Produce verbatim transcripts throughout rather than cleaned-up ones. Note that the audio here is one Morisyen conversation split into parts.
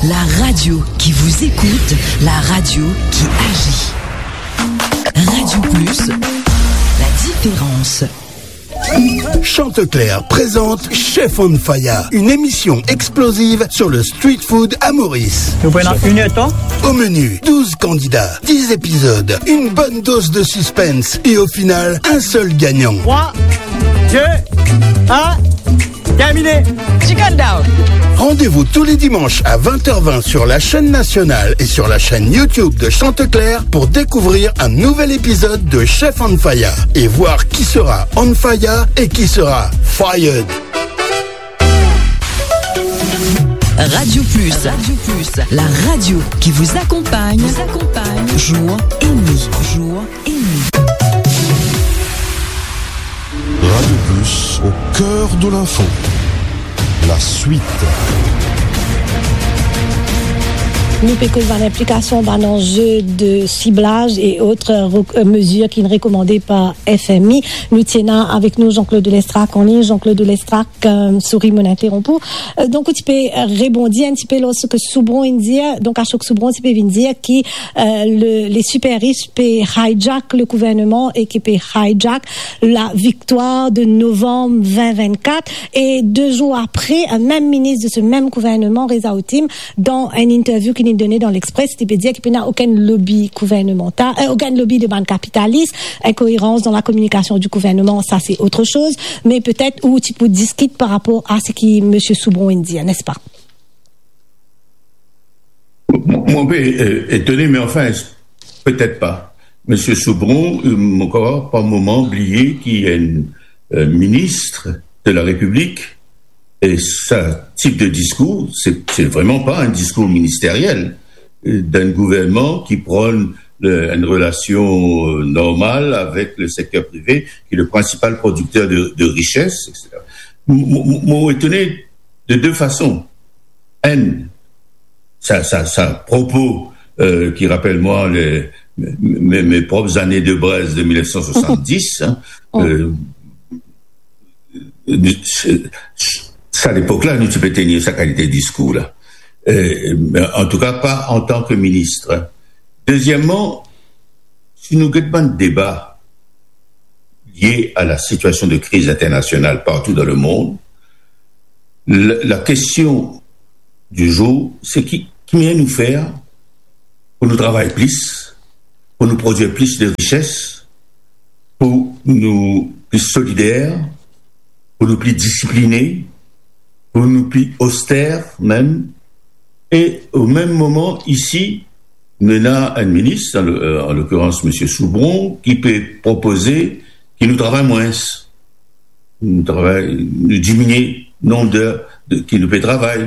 La radio qui vous écoute, la radio qui agit. Radio Plus, la différence. Chanteclair présente Chef on Fire, une émission explosive sur le street food à Maurice. Nous prenons une heure de temps. Au menu, douze candidats, dix épisodes, une bonne dose de suspense et au final, un seul gagnant. Trois, deux, un, terminé. Chicken down. Rendez-vous tous les dimanches à vingt heures vingt sur la chaîne nationale et sur la chaîne YouTube de Chanteclair pour découvrir un nouvel épisode de Chef on Fire et voir qui sera on fire et qui sera fired. Radio Plus. Radio Plus, la radio qui vous accompagne, vous accompagne jour et nuit, jour et nuit. Radio Plus, au cœur de l'info. La suite. Nou pe koz bann inplikasion, bann anze de siblaz e ot rek-, mezir ki rekomande par F M I. Nou ti ena avek nou Jean-Claude Lestrac an lign. Jean-Claude Lestrac, euh, sori, mo'nn interonp ou. Euh, donk, ou ti pe, euh, rebondi enn tipe lor seki Soubron inn dir. Donk, Ashok Soubron ti pe vinn dir ki, euh, le, les super riches pe hijack le gouvernement e ki pe hijack la viktwar de novanm vin vinn-kat. E de zour apre, euh, mem minis de se mem gouvernement, Reza Ottim, dan enn interview ki li done dan L'Express, li pe dir ki pena okenn lobi gouvernemantal, euh, okenn lobi de bann kapitalis. Inkoerans dan la kominikasion di gouverneman, sa se ot soz, me petet ou ti pou diskit par rapor a seki misie Soubron inn dir, nespa? Mo, mo pe, euh, etone, me anfin, petet pa. Misie Soubron, euh, mo krwar par moman bliye ki enn, euh, minis de la Repiblik, e sa tip de diskour, se, se vreman pa enn diskour ministeriel, euh, dan enn gouvernman ki pran le, enn relasion, euh, normal avek le sekter prive, ki le prinsipal prodikter de, de rises, et cetera. Mo, mo, mo etone de de fason. Enn, sa, sa, sa propo, euh, ki rapel mwa le, me, me, mes propres années de braise de mil nef san swasanndis, hein, euh, se, sa lepok la, nou ti pe tenir sa kalite diskour la. Euh, antouka, pa antan ki minis. Dezieman, si nou get bann deba lie a la sitiasion de kriz internasional partou dan lemond, la, la kestion di zour, se ki, ki manier nou fer pou nou travay plis, pou nou prodwir plis de rises, pou nou pli solider, pou nou pli disipline, pou nou pli oster mem. E o mem moman, isi, nou ena enn minis, an lo-, euh, an lokirans misie Soubron, ki pe propoze ki nou travay mwins. Nou travay, nou diminie nonb de, de, ki nou pe travay.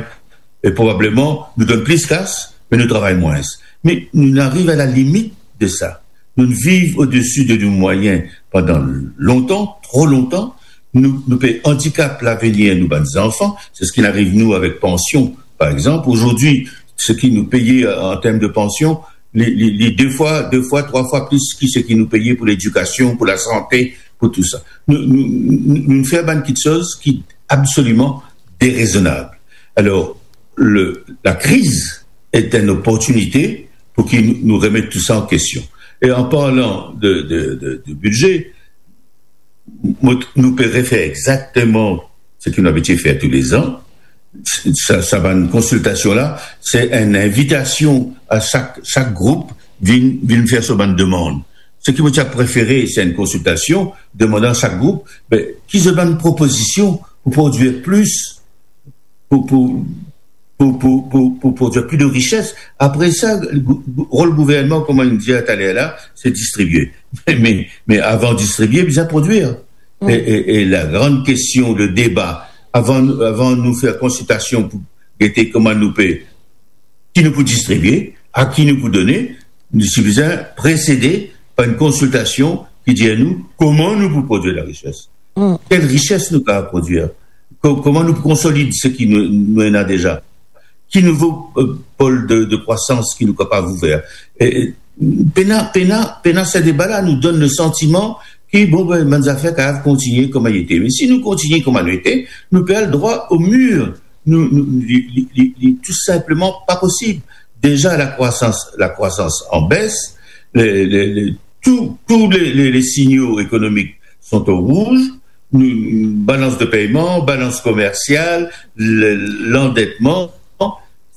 E probableman, nou donn plis kas, me nou travay mwins. Me nou ariv a la limit de sa. Nou viv odesi de nou mwayin pandan lontan, tro lontan. Nou, nou pe andikap lavenir nou bann zanfan. Se seki ariv nou avek pansion, par exanp. Azordi, seki nou peye an term de pansion, li, li, li de fwa, de fwa, trwa fwa plis ki seki nou peye pou ledikasion, pou lasante, pou tou sa. Nou, nou, nou, nou fer bann kiksoz ki absoliman derezonab. Alor, le, la kriz est une opportunité pour que nous, nous remettre tout ça en question. Et en parlant de, de, de, de budget, nou, nou pe refer exakteman seki nou abitie fer toulezan. Sa, sa bann konsiltasion la, se enn invitasion a sak, sak group vinn, vinn fer so bann demann. Seki mo ti a prefere, se enn konsiltasion, demann a sak group, be, ki zot bann propozision pou prodwir plis, pou, pou, pou prodwir plis de rises. Apre sa, gou-, gou-, rol gouvernman, kouma nou dir taler la, se distribie. Me, me avan distribie, bizin prodwir. E, e, e la gran kestion, le deba, avan, avan nou fer konsiltasion pou gete kouma nou pe, ki nou pou distribie, a ki nou pou done, nou ti bizin presede par enn konsiltasion ki dir nou kouma nou pou prodwir larises. Kel rises nou kapav prodwir? Ko-, kouma nou pou konsolid seki nou, nou ena deza? Ki nouvo, euh, pol de, de krwasans ki nou kapav ouver? E, e, pena, pena, pena se deba la, nou donn le santiman ki, bon, be, bann zafer kapav kontigne kouma li ete. Me si nou kontigne kouma nou ete, nou pe al drwa o mir. nou, nou, li, li, li, li tou sinpleman pa posib. Deza, lakrwasans, lakrwasans an bes, le, le, le, tou, tou le, le, le signaux économiques sont au rouge, nou, balans de peyman, balans komersial, le, landetman.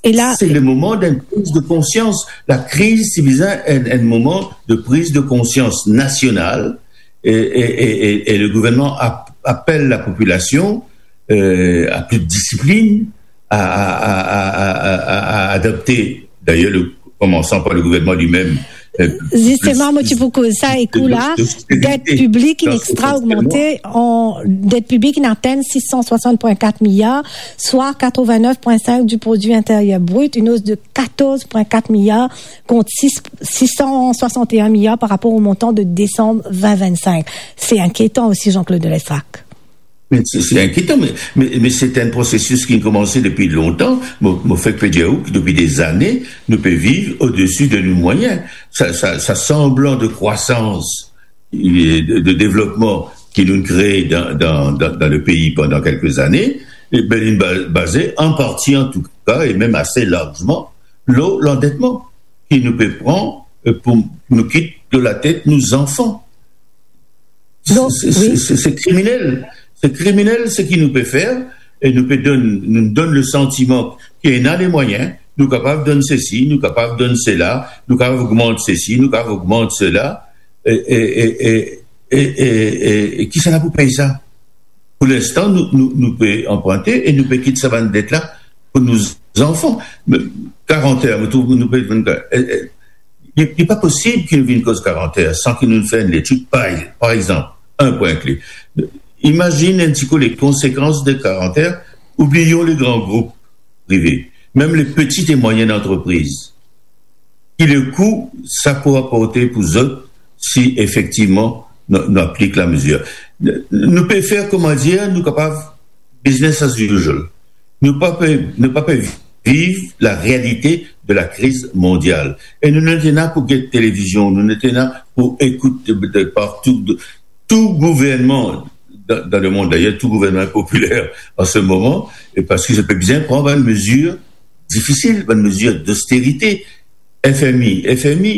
E la, c'est le moment d'une prise de conscience. La kriz, c'est bizin un, un moment de prise de conscience nationale. Et, et, et, et, et le gouvernement ap-, appelle la population, euh, à plus de discipline, à, à, à, à, à, à, à adopter, d'ailleurs, le, commençant par le gouvernement lui-même, euh, Zisteman, plus, mo ti pou koz sa, e kou la, de, de, det piblik inn extra ogmante, an, det piblik inn atenn six cent soixante point quatre milliards, soit quatre-vingt-neuf point cinq du produit intérieur brut, une hausse de quatorze point quatre milliards contre six, six cent soixante et un milliards par rapport au montant de décembre vingt vingt-cinq. C'est inquiétant aussi, Jean-Claude Lestrac. Mais c'est, c'est inquiétant, mais, mais, mais c'est un processus qui a commencé depuis longtemps. Mo, mo fek pe dir ou ki depuis des années, nou pe viv au-dessus de nos moyens. Sa, sa, sa semblant de croissance et de, de développement ki nou kree dan, dan, dan, dan le pays pendant quelques années, e ben, li ba-, baze en partie, en tout cas, et même assez largement, lor landetman ki nou pe pran, euh, pou nou kit de la tet nou zanfan. Donk, se, se, wi. Se, se kriminel. Se kriminel, seki nou pe fer, e nou pe donn, nou donn le santiman ki ena le mwayin, nou kapav donn sesi, nou kapav donn sela, nou kapav ogmant sesi, nou kapav ogmant sela, e, e, e, e, e, e, e, e kisannla pou pey sa? Pou linstan, nou, nou, nou pe anprinte e nou pe kit sa bann det la pou nou zanfan. Me karant er, mo trouv nou pe, e, e, li, li pa posib ki nou vinn koz karant er san ki nou fer enn letid. Par, par exanp, enn pwin kle. Imazinn enn tikou le konsekans de karant er, oubliyon le gran group prive, mem le petit et moyen antrepriz. Ki le kou sa pou aporte pou zot si efektivman nou, nou aplik lamezir? Nou pe fer, kouma dir, nou kapav business as usual. Nou pa pe, nou pa pe viv la realite de la kriz mondial. E nou nete la pou get televizion, nou nete la pou ekout de, de partou, de, tou gouvernman dan, dan lemond, dayer tou gouvernman popiler an se moman, e parski zot pe bizin pran bann mezir difisil, bann mezir dosterite. F M I, F M I,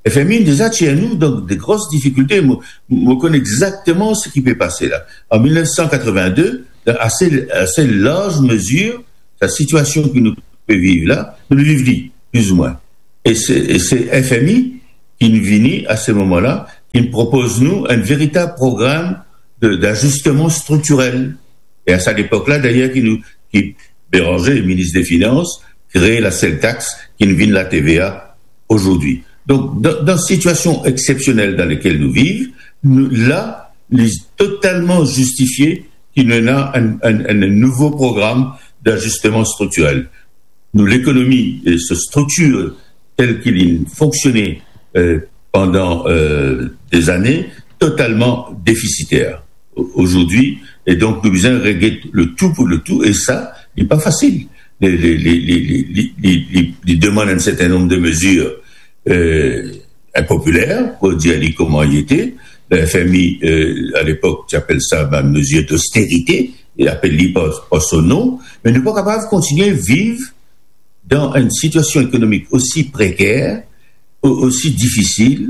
F M I deza tir nou dan de gros difikilte. Mo, mo konn exakteman seki pe pase la. An mil nef san katreven-de, dan ase, ase larz mezir, sa sitiasion ki nou pe viv la, nou viv li, plizoumwin. E se, e se F M I ki'nn vini a se moman la, ki'nn propoz nou enn veritab program de, d'ajustman striktirel. E a sa lepok la, dayer, ki nou, ki Bérenger, minis de finans, kree la sel tax ki'nn vinn la T V A azordi. Donk, dan, dan sitiasion exsepsionel dan lekel nou viv, nou, la, li totalman zistifie ki nou ena enn, enn, enn nouvo program d'ajustman striktirel. Nou lekonomi, e, so striktir tel ki li fonksione, e, pandan, e, dezane, totalman defisiter o-, azordi. E donk, nou bizin reget le tou pou le tou, e sa, li pa fasil. Li, li, li demann enn serten nonb de mezir, e, inpopiler, pou dir li kouma li ete. F M I, e, a lepok, ti apel sa bann mezir dosterite, e apel li par, par so non, me nou pa kapav kontinie viv dan enn sitiasion ekonomik osi preker, o-, osi difisil,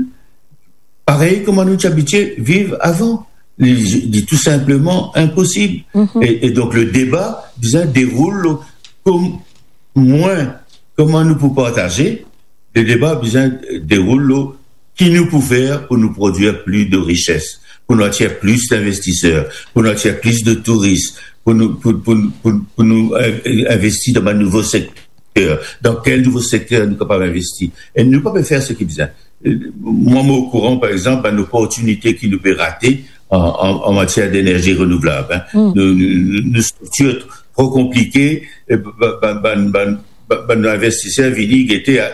parey kouma nou ti abitie viv avan. Li, li tou sinpleman inposib. Mhm. E, e donk, le deba bizin deroul lor kom-, mwa, kouma nou pou partaze, le deba bizin deroul lor ki nou pou fer pou nou prodwir plis de rises, pou nou atir plis dinvestiser, pou nou atir plis de touris, pou nou, pou, pou, pou, pou nou, e, e, investi dan bann nouvo sekter, dan kel nouvo sekter nou kapav investi. E nou pa pe fer seki bizin. E, mwa, mo okouran, par exanp, bann loportinite ki nou pe rate an, an, an matier denerzi renouvlab, en. Mm. Nou, nou, nou, nou striktir tro konplike, e ba-, ba-, bann, bann, bann, bann investiser vini, gete, a-,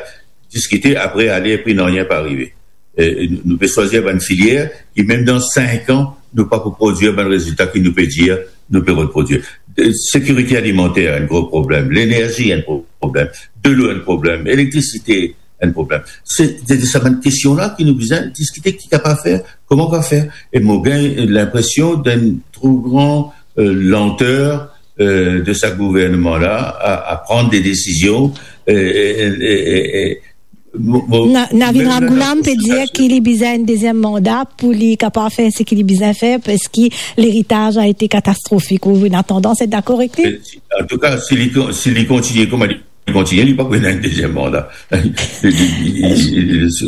diskite, apre ale, epi nanye pa arive. E, e nou, nou pe swazir bann filier ki, mem dan sink an, nou pa pou prodwir bann rezilta ki nou pe dir nou pe reprodwir. E, sekirite alimanter, enn gro problem. Lenerzi, enn gro problem. Delo, enn problem. Elektrisite, enn problem. Se, se de sa bann kestion la ki nou bizin diskite, ki kapav fer, kouma kapav fer. E mo gagn linpresion d'enn tro gran, e, lanter euh, de sa gouverneman la a, a pran de desizion, euh, e, e, e, e, mo, mo, Na-, Navin Ramgoolam pe dir ki li bizin enn deziem manda pou li kapav fer seki li bizin fer, parski leritaz a ete katastrofik. Ou ena tandans et dakor avek li? An tou ka, si li kon-, si li kontigne kouma li kontigne, li pa pou ena enn deziem manda. Se,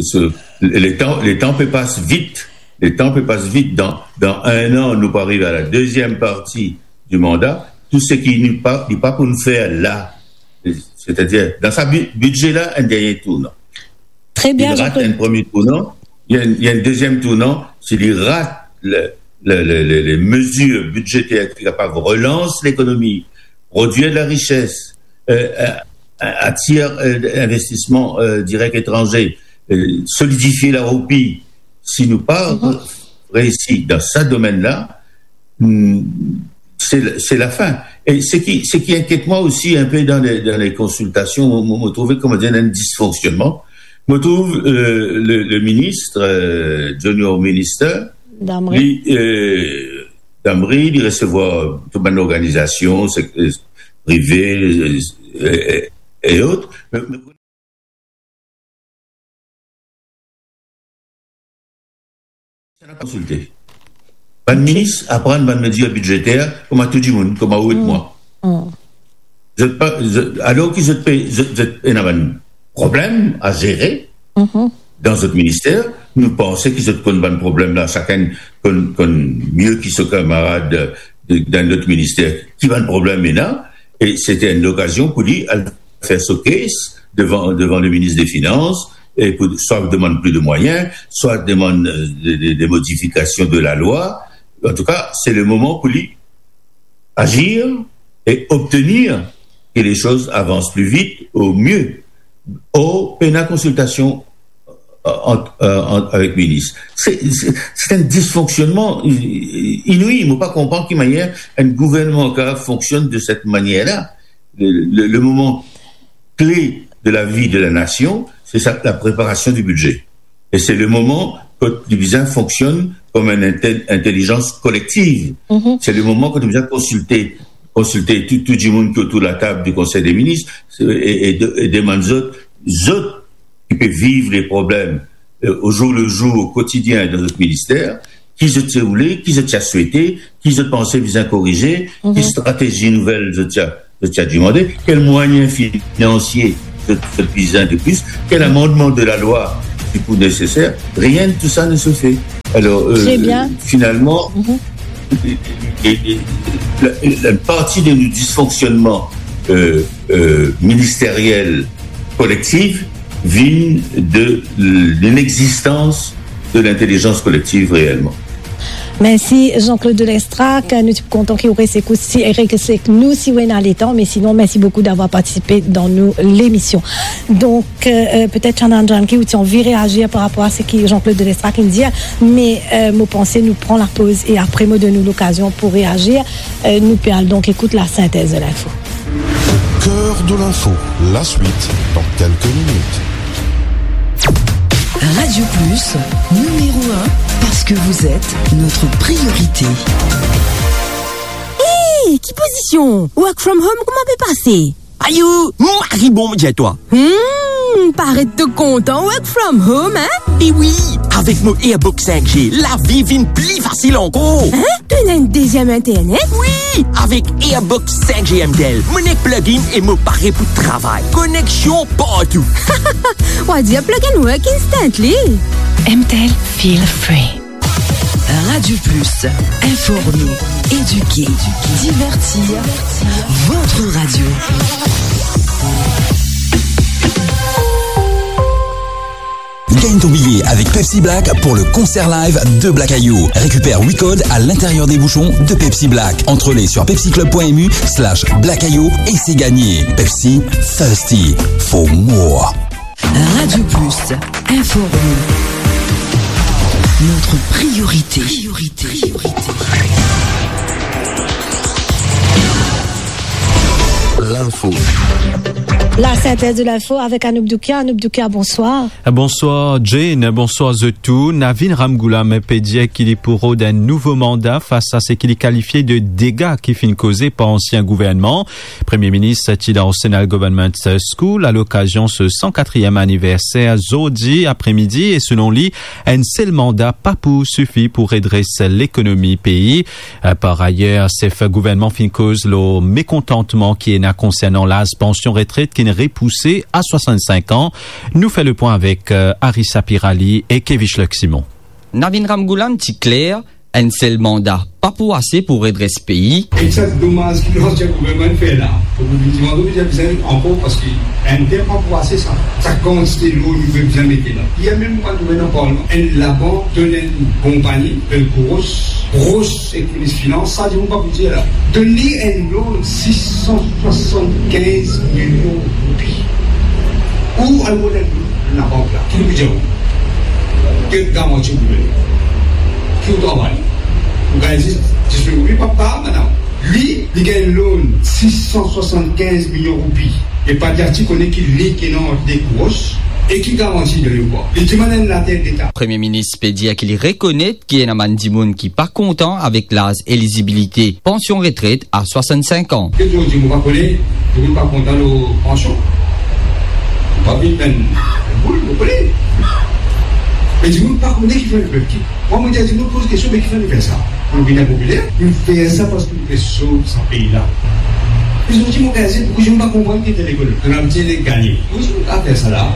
se, letan, letan pe pas vit. Letan pe pas vit. Dan, dan enn an, nou pou ariv a la deziem parti di manda. Tou seki nou pa, li pa pou nou fer la, setadir dan sa bi-, bidze la, enn dernie tournan. Tre bien, Jean-Claude. Li rat enn premie tournan, li ena enn, li ena enn deziem tournan, si li rat le, le, le, le, le mezir bidzeter ki kapav relans lekonomi, prodwir de la rises, euh, euh, atir, euh, investisman, euh, direk etranze, euh, solidifie laroupi. Si nou pa reisi dan sa domenn la, hmm, se, se lafin. E seki, seki inkiet mwa osi inpe dan le, dan le konsiltasion, mo, mo, mo trouve, kouma dir, enn disfonksionnman. Mo trouve, euh, le, le minis, euh, Junior Minister, Damry. Li, euh, Damry, li resevwar tou bann lorganizasion, sek-, euh, prive, euh, e, e, e ot. Me, me, Sa ena konsilte. Bann minis aprann bann mezir bidzeter kouma tou dimoun, kouma ou ek mwa. Zot pa, zot, alor ki zot pe, zot, zot ena bann problem a zere dan zot minister, nou panse ki zot konn bann problem la, sakenn konn, konn mie ki so kamarad de, dan lot minister ki bann problem ena, e sete enn lokazion pou li al fer so case devan, devan le minis de finans, e pou swa demann plis de mwayin, swa demann, euh, de, de, de modifikasion de lalwa. An tou ka, se le moman pou li azir e obtenir ke le soz avans pli vit o mie. Or, pena konsiltasion ant, euh, ant, avek minis. Se, se, se enn disfonksionnman i-, i-, inouï. Mo pa konpran ki manier enn gouvernman kapav fonksionn de set manier la. Le, le, le moman kle de lavi de la nasion, se sa, la preparasion di bidze. E se le moman kot li bizin fonksionn kom enn intel-, intelizans kolektiv. Se le moman kot li bizin konsilte, konsilte tou, tou dimoun ki otour latab di Konsey de Minis, e, e de-, e demann zot, zot ki pe viv le problem, euh, o zour le zour, o kotidien dan zot minister, ki zot ti oule, ki zot ti a swete, ki zot panse bizin korize, ki stratezi nouvel zot ti a, zot ti a demande, kel mwayin finansie zot, zot bizin de plis, kel amandman de lalwa ki pou neseser. Rien de tou sa ne se fait. Alor, euh, finalman, e, e, e, la, la parti de nou disfonksionnman, euh, euh, ministeriel kolektif vinn de l'inexistence de l'intelligence collective réellement. Mersi Jean-Claude Delestrac, nou ti kontan ki ou res ekout, si, res ek nou si ou ena letan, me sinon, mersi boukou d'avoir partisipe dan nou lemision. Donk, euh, euh, petet Chandan Janki, ou ti anvi reazir par rapor a seki Jean-Claude Delestrac inn dir, me, euh, mo panse nou pran lapoz e apre mo donn ou lokazion pou reazir. Euh, nou pe al donk ekout lasintez de linfo. Cœur de l'info, la suite dans quelques minutes. Radio Plus, numéro un, parce que vous êtes notre priorité. Hey, ki pozision? Work from home, kouma pe pase? Ayo, mari bon, mo dir twa. Hmm, paret to kontan work from home, hein? E wi, avek mo Airbox cinq G, lavi vinn pli fasil ankor. Hein? To ena enn deziem internet? Wi, avek Airbox cinq G M T L, mo nek plug-in e mo pare pou travay. Koneksion partou. Wa dir plug and work instantly. M T L, feel free. Radio Plus, informer, éduquer, divertir, votre radio. Gagne ton billet avec Pepsi Black pour le concert live de Black Ayou. Récupère huit codes à l'intérieur des bouchons de Pepsi Black. Entrée sur pepsiclub point M U slash Black Ayou et c'est gagné. Pepsi, thirsty for more. Radio Plus, informer. Notre priorité. Priorité. L'info. La synthèse de l'info avec Anoop Doukia. Anoop Doukia, bonsoir. Bonswar Jane, bonswar zot tou. Navin Ramgoolam pe dir ki li pou rod enn nouvo manda fas a seki li kalifie de dega ki finn koze par ansien gouvernman. Premie Minis ti dan Arsenal Government School alokazion so san katriem aniverser zordi apremidi e selon li, enn sel manda pa pou sifi pou redres lekonomi pei. Par ayer, sef gouvernman finn koz lor mekontantman ki ena konsernan laz pansion retret ki'nn repouse a swasann-sink an. Nou fer lepwin avek, eh, Arissa Pirali e Kevish Leximon. Navin Ramgoolam ti kler, enn sel manda pa pou ase pou redres pei. E sa domaz ki lansien gouvernman fer la. Donk, nou dimann, nou bizin ankor, parski enn ter pa pou ase sa. Sa kantite lour nou pe bizin mete la. Yer mem, mwa, nou ena parlman, enn labank donn enn konpagni, enn gros, gros ek minis finans, sa dimoun pa pou dir la. Donn li enn loan sis san swasann-kinz milion roupi. Ou al rod enn labank la, ki li pou dir ou? Ki garanti ou pou donn? Ki ou travay? Ou gagn zis dis mil roupi, pa, pa, madam. Li, li gagn loan sis san swasann-kinz milion roupi. E pa dir ti kone ki li ki ena ant de gros e ki garanti donn li ou pa. Li dimann enn later deta. Premie Minis pe dir ki li rekonet ki ena bann dimoun ki pa kontan avek laz elizibilite pansion retret a swasann-sink an. Ki dimoun dir mo pa kone, dimoun pa kontan lor pansion. Mo pa vinn enn boul, mo kone. Me dimoun pa kone kifer nou fer ki. Mwa, mo dir dimoun poz kestion, me kifer nou fer sa? Nou vinn inpopiler, nou fer sa parski nou pe sov sa pei la. Me zot dir mo gagn zis, pouki zot pa konprann ki ete lekonomi? Zot ena ti nek gagne. Pouki zot pa fer sa la?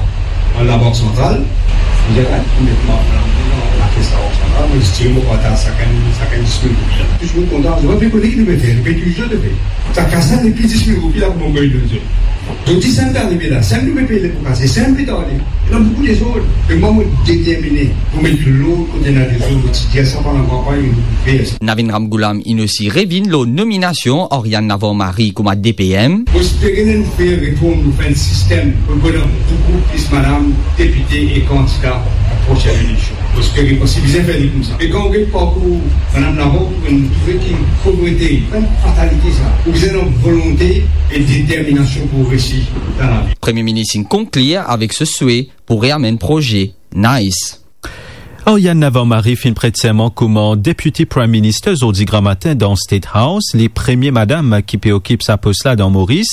Bann labank santral, nou dir, ah, nou met mwa, mwa, mwa, labank santral, nou dir mo partaz sakenn, sakenn dis mil roupi la. Touzour kontan, zot pa pe kone ki nou pe fer, nou pe touzour de fer. Sa kas la, depi dis mil roupi la, kouma mo gagn donn zot. Donk, si sa pe arive la, si nou pe pey lepo kase, si nou pe tarde, ena boukou dezord. Me mwa, mo determine pou met lord kot ena dezord, mo ti dir sa pandan kanpagn, nou pou fer sa. Navin Ramgoolam inn osi revinn lor nominasion Oriane Navarro-Marie kouma D P M. Mo espere nou fer reform, nou fer enn sistem pou donn boukou plis madam depite e kandida a prosenn eleksion. Mo espere, parski bizin fer li koumsa. E kan ou get parkour madam Navarro, ou trouve ki povrete, pa enn fatalite sa. Ou bizin ena volonte e determinasion pou resi dan lavi. Premie Minis inn konklir avek so swe pou reamenn proze NICE. Oriane Navarro-Marie finn pret serman kouma Deputy Prime Minister zordi gramatin dan State House. Li premie madam ki pe okip sa pos la dan Moris.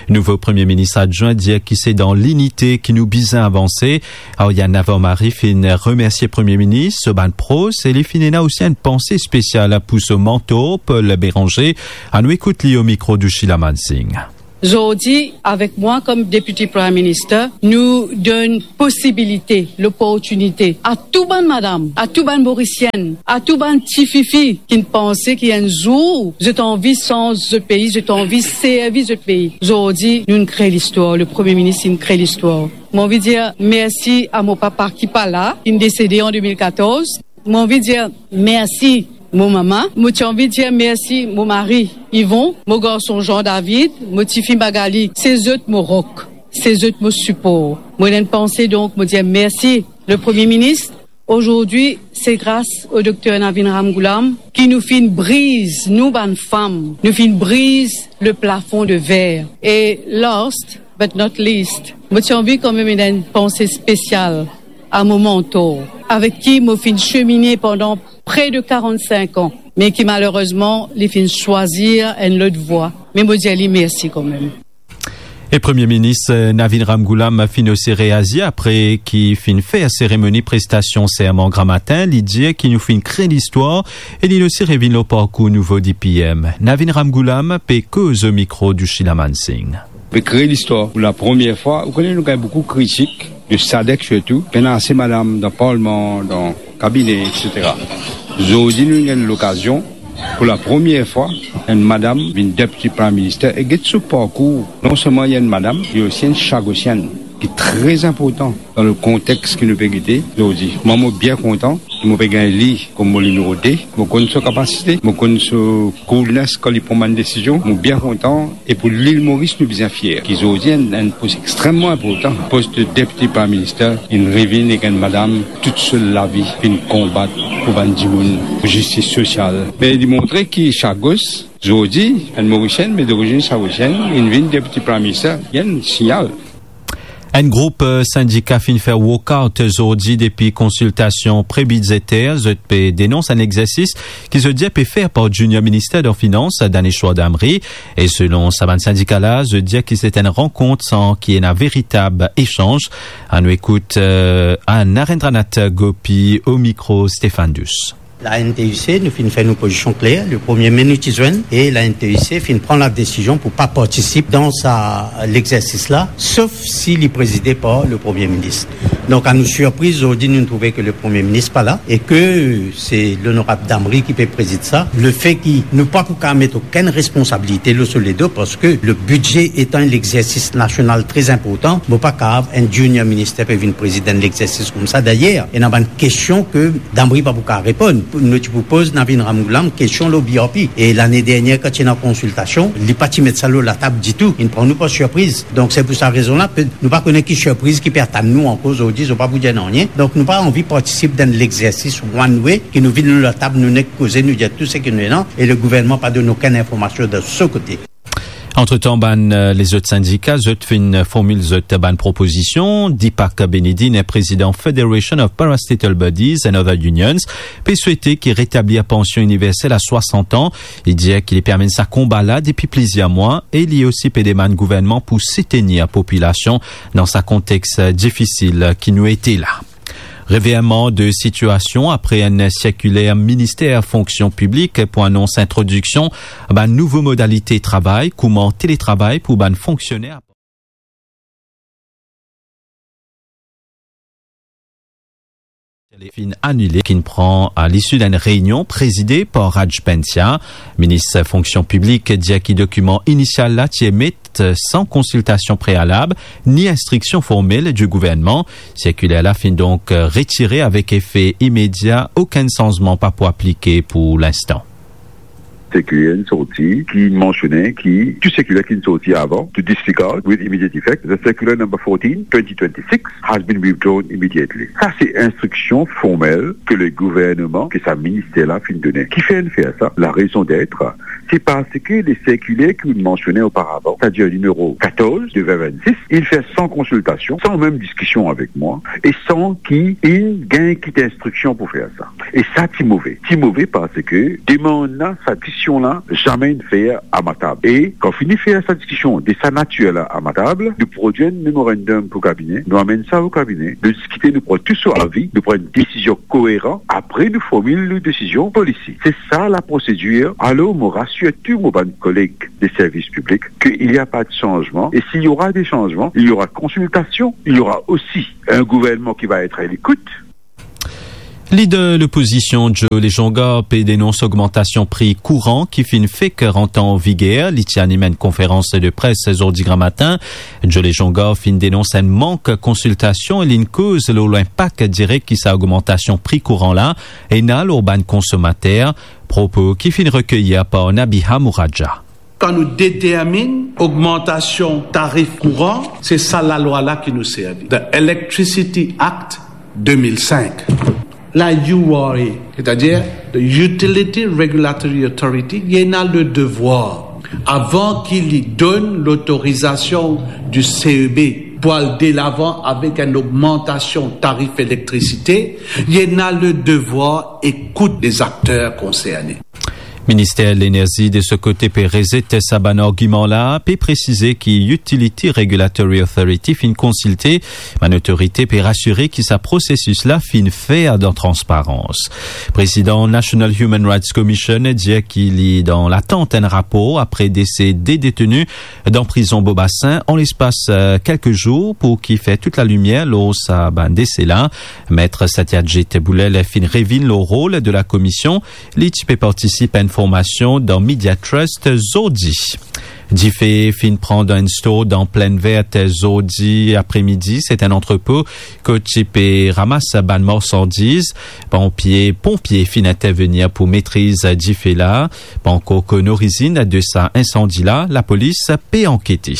Nouvo Premie Minis adwin dir ki se dan linite ki nou bizin avanse. Oriane Navarro-Marie finn remersie Premie Minis, so bann pros, e li finn ena osi enn panse spesial pou so mantor, Paul Bérenger. Anou ekout li o mikro de Sheila Mansingh. Zordi, avek mwa kom Deputy Prime Minister, nou donn posibilite, loportinite a tou bann madam, a tou bann Morisienn, a tou bann tififi ki'nn panse ki enn zour zot anvi sanz zot pei, zot anvi servi zot pei. Zordi, nou'nn kre listwar, le Premie Minis inn kre listwar. Mo anvi dir mersi a mo papa ki pa la, ki'nn desede an de mil katorz. Mo anvi dir mersi mo mama, mo ti anvi dir mersi mo mari Yvon, mo garson Jean David, mo tifi Magali, se zot mo rok, se zot mo sipor. Mo ena enn panse, donk mo dir mersi le Premie Minis. Ozordi, se gras o Dokter Navin Ramgoolam ki nou finn briz, nou bann fam, nou finn briz le plafon de ver. E last but not least, mo ti anvi kanmem ena enn panse spesial a mo mantor, avek ki mo finn semine pandan pre de karannsink an, me ki malerezman, li finn swazir enn lot vwa. Me mo dir li mersi kanmem. E Premie Minis, eh, Navin Ramgoolam finn osi reazir apre ki finn fer seremoni prestasion serman gramatin. Li dir ki nou finn kre listwar e li osi revinn lor parkour nouvo D P M. Navin Ramgoolam pe koz o mikro de Sheila Mansingh. Pe kre listwar pou lapremier fwa. Ou kone, nou gagn boukou kritik de SADC sirtou. Pena ase madam dan parlman, dan kabine, et cetera. Zordi nou gagn lokazion, pou lapremier fwa, enn madam vinn Deputy Prime Minister e get so parkour. Non selman li enn madam, li osi enn Chagosienn, ki tre inportan dan le kontex ki nou pe gete zordi. Mwa, mo bien kontan ki mo pe gagn li kom mo nimero de. Mo konn so kapasite, mo konn so coolness kan li pran bann desizion. Mo bien kontan. E pou Lil Moris, nou bizin fier ki zordi enn, enn pos extreman inportan, pos de Deputy Prime Minister, inn revinn ek enn madam, tout so lavi finn konbat pou bann dimoun, pou zistis sosial. Me li montre ki Chagos Zordi, enn Morisien, me dorizinn Saoudien, inn vinn deputy prime minister, enn signal. Enn group, eh, sindika finn fer walkout zordi depi konsiltasion pre-bidzeter. Zot pe denons enn exersis ki zot dir pe fer par Junior Minister dan Finans, Daneshwar Damri. E selon sa bann sindika la, zot dir ki se enn rankont san ki ena veritab esanz. Annou ekout, eh, Narendranath Gopi o mikro Stéphane Douce. La N T U C, nou finn fer nou pozision kler, le premie me nou ti zwenn, e la N T U C finn pran la desizion pou pa partisip dan sa, lexersis la, sof si li prezide par le premie minis. Donk, a nou sirpriz, zordi nou trouve ke le premie minis pa la, e ke se lonorab Damri ki pe prezid sa. Lefe ki nou pa pou kav met okenn responsabilite lor so ledo, parski le bidze etan enn lexersis nasional tre inportan, mo pa kav enn junior minister pe vinn prezid enn lexersis koumsa. Dayer, ena bann kestion ke Damri pa pou kav reponn. Nou ti pou poz Navin Ramgoolam kestion lor B R P. E lane dernier, kan ti ena konsiltasion, li pa ti met sa lor latab ditou. Inn pran nou par sirpriz. Donk, se pou sa rezon la, pe-, nou pa kone ki sirpriz ki pe atann nou ankor zordi, zot pa pou dir nanye. Donk, nou pa anvi partisip dan lexersis one way, ki nou vinn lor latab, nou nek koze, nou dir tou seki nou ena, e le gouvernman pa donn okenn informasion de so kote. Antretan, bann, eh, lezot sindika, zot finn formil zot bann propozision. Deepak Benedine, prezidan Federation of Parastatal Bodies and Other Unions, pe swete ki retablir pansion iniversel a swasant an. Li dir ki li pe amenn sa konba la depi plizier mwa e li osi pe demann gouvernman pou soutenir popilasion dan sa kontex difisil ki nou ete la. Revirman de sitiasion apre enn sirkiler Minister Fonksion Piblik pou anons introdiksion bann nouvo modalite travay, kouma teletravay pou bann fonksioner. Finn anile, ki pran a lisi d'enn reynion prezide par Raj Pensia, minis fonksion piblik, dir ki dokiman inisial la ti emet san konsiltasion prealab ni instriksion formel di gouvernman. Sirkiler la finn donk retire avek efe imedia, okenn sanzman pa pou aplike pou linstan. Sirkiler inn sorti ki mansione ki tou sirkiler ki inn sorti avan to disregard with immediate effect. The circular number fourteen, twenty twenty-six has been withdrawn immediately. Sa se instriksion formel ke le gouvernman, ke sa minister la finn done. Kifer inn fer sa? La raison d'être, se parski le sirkiler ki ou mansione oparavan, setadir nimero katorz de vingt vingt-six, inn fer san konsiltasion, san mem diskision avek mwa, e san ki inn gagn kit instriksion pou fer sa. E sa ti move. Ti move parski demann la, sa diskision la, zame inn fer a ma tab. E kan fini fer sa diskision de sa natir la a ma tab, nou prodwir enn memorandum pou kabine, nou amenn sa o kabine, nou diskite, nou pran tou so avi, nou pran enn desizion koeran, apre nou formil nou desizion polisi. Se sa la prosedir. Alor, mo rasir tou mo bann koleg de servis piblik ke il y a pas de changement. Et s'il y aura des changements, il y aura consultation, il y aura aussi un gouvernement qui va être à l'écoute. Lider lopozision Joe Lejonga pe denons ogmantasion pri kouran ki finn fek rant an viger. Li ti anim enn konferans de pres zordi gramatin. Joe Lejonga finn denons enn mank konsiltasion e linn koz lor linpak direk ki sa ogmantasion pri kouran la ena lor bann konsomater, propo ki finn rekeyir par Nabiha Mouraja. Kan nou determinn ogmantasion tarif kouran, se sa lalwa la ki nou servi, the Electricity Act de mil sink. La U R A, setadir the Utility Regulatory Authority, li ena le devwar, avan ki li donn lotorizasion di C E B pou al delavan avek enn ogmantasion tarif elektrisite, li ena le devwar ekout lezakter konserne. Minister Lenerzi, de so kote, pe rezet sa bann argiman la, pe presize ki Utility Regulatory Authority finn konsilte bann otorite, pe rasire ki sa prosesis la finn fer dan transparans. Prezidan National Human Rights Commission dir ki li dan latant enn rapor apre dese de deteni dan prizon Bobasin. An lespas, eh, kelke zour pou ki fer tout lalimier lor sa bann dese la. Met Satyajit Boulel finn revinn lor rol de la komision. Li ti pe partisip a enn formasion dan Media Trust zordi. Dife finn pran dan enn store dan Plaine Verte zordi apremidi. Se enn antrepo kot ti pe ramas bann marsandiz. Ponpie, ponpie finn intervenir pou metriz dife la. Pa ankor konn orizinn de sa insandi la, lapolis pe ankete.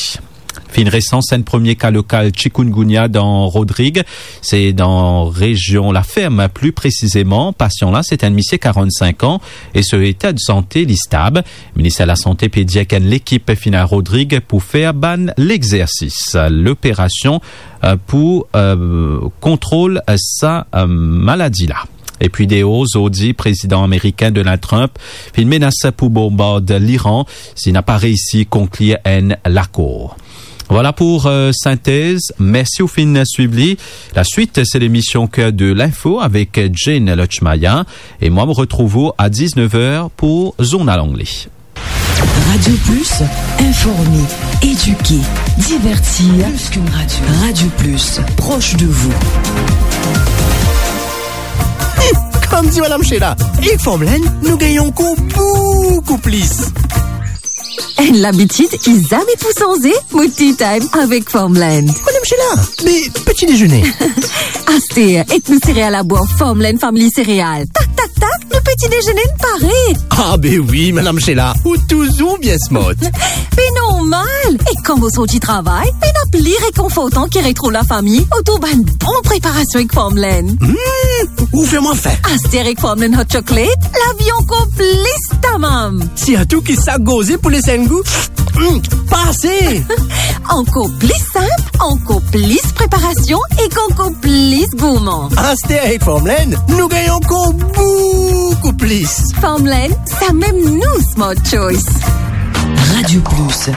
Finn resans enn premie ka lokal chikungunya dan Rodrig, se dan rezion Laferm, pli presizeman. Pasian la, se enn misie karannsink an e so eta de sante li stab. Minister Lasante pe dir ki enn lekip finn al Rodrig pou fer bann lexersis, loperasion, eh, pou, eh, kontrol sa, eh, maladi la. Epi deor, zordi, prezidan amerikin Donald Trump finn menas pou bonbard Liran si li pa reysi konklir enn lakor. Vwala pou, eh, sintez. Mersi ou finn swiv li. Laswit, se lemision Cœur de l'info avek Jane Lutchmaya. E mwa, mo retrouv ou a diznef er pou zournal angle. Radio Plus, informer, éduquer, divertir. Plus qu'une radio. Radio Plus, proche de vous. Hum, kouma dir Madam Sheila, ek Farmland, nou gagn ankor boukou plis. Enn labitid ki zame pou sanze, mo tea time avek Farmland. Madam Sheila, me peti dezene? Aster, ek nou sereal labwar Farmland Family Cereal. Tak, tak, tak, nou peti dezene pare. Ah be wi, Madam Sheila, ou touzour bien smart. Be normal. E kan mo sorti travay, pena pli rekonfortan ki retrouv lafami otour bann bon preparasion ek Farmland. Hmm, ou fer mwa fin. Aster ek Farmland Hot Chocolate, lavi ankor plis tamam. Sirtou ki sak gorze pou les enn gou. Hmm, pase. Ankor plis sinp, ankor plis preparasion ek ankor plis gourman. Aster ek Farmland, nou gagn ankor boukou plis. Farmland, samem nou smart choice. Radio Plus,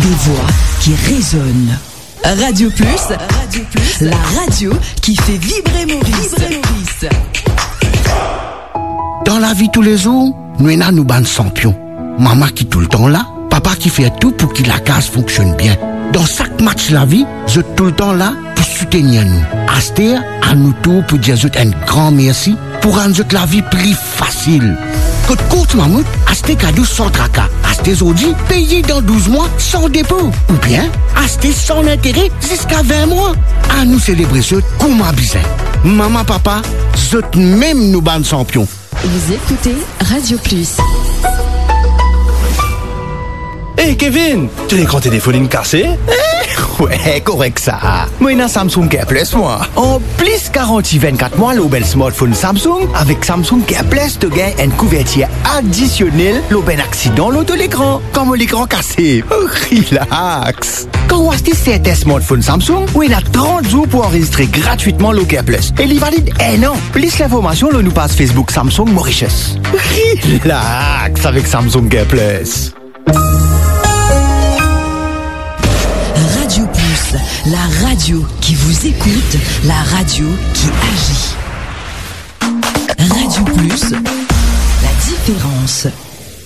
des voix qui résonnent. Radio Plus, Radio Plus, la radio qui fait vibrer Maurice. Vibrer Maurice. Dan lavi toulezour, nou ena nou bann sanpion. Mama ki toultan la, papa ki fer tou pou ki lakaz fonksionn bien. Dan sak match lavi, zot toultan la pou soutenir nou. Aster, a nou tour pou dir zot enn gran mersi pou rann zot lavi pli fasil. Kot Courts Mammouth, aste kado san traka. Aste zordi, peye dan douz mwa san depo. Oubien, aste san lintere ziska vin mwa. Anou selebre zot kouma bizin. Mama, papa, zot mem nou bann sanpion. Vous écoutez Radio Plus. Hey Kevin, to lekran telefonn inn kase? We, korek sa. Mo ena Samsung Care Plus mwa. Anplis garanti vinn-kat mwa lor bann smartphone Samsung, avek Samsung Care Plus to gagn enn kouvertir adisionel lor bann aksidan lor to lekran, kan mo lekran kase. Relax. Kan ou aste sertin smartphone Samsung, ou ena trant zour pou anrezistre gratwitman lor Care Plus e li valid enn an. Plis linformasion lor nou paz Facebook Samsung Mauritius. Relax avek Samsung Care Plus. Radio Plus, la radio qui vous écoute, la radio qui agit. Radio Plus, la différence.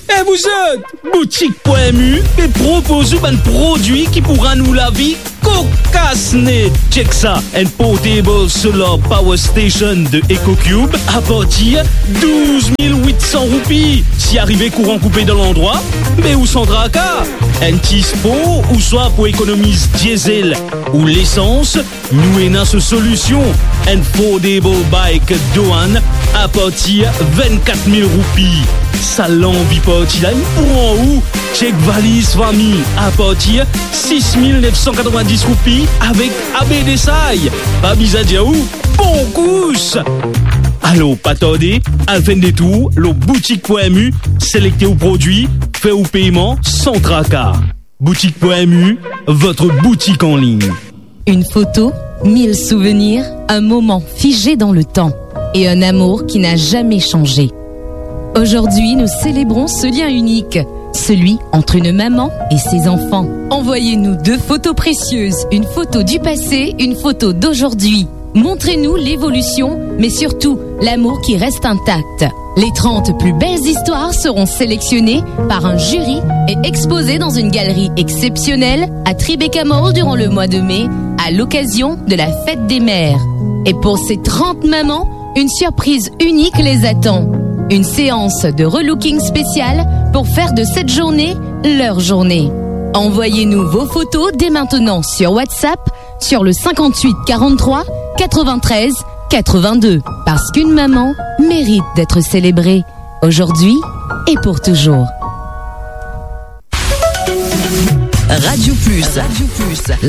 E vouzot, Boutik Pwin Mu pe propoz ou bann prodwi ki pou rann ou lavi kokas net. Check sa, enn portable solar power station de EcoCube a partir douz mil wit san roupi. Si arive kouran koupe dan landrwa, be ou san traka. Enn ti spor ouswa pou ekonomiz diesel ou lesans, nou ena so solision, enn foldable bike Doan a partir vinn-kat mil roupi. Sa lanvi parti la, inn pran ou. Check valiz fami a partir sis mil nef san katrevin-dis roupi avek A B D S I. Pa bizin dir ou, bon kous! Alor, pa tarde, al fer enn detour lor Boutik Pwin Mu, selekte ou prodwi, fer ou peyman san traka. Boutique point M U, votre boutique en ligne. Une photo, mille souvenirs, un moment figé dans le temps et un amour qui n'a jamais changé. Aujourd'hui, nous célébrons ce lien unique, celui entre une maman et ses enfants. Envoyez-nous deux photos précieuses, une photo du passé, une photo d'aujourd'hui. Montrez-nous l'évolution, mais surtout l'amour qui reste intact. Les trente plus belles histoires seront sélectionnées par un jury et exposées dans une galerie exceptionnelle à Tribeca Mall durant le mois de mai, à l'occasion de la fête des mères. Et pour ces trente mamans, une surprise unique les attend. Une séance de relooking spéciale pour faire de cette journée leur journée. Envoyez-nous vos photos dès maintenant sur WhatsApp sur le cinquante-huit quarante-trois quatre-vingt-treize quatre-vingt-deux, parce qu'une maman mérite d'être célébrée aujourd'hui et pour toujours. Radio Plus. Radio Plus.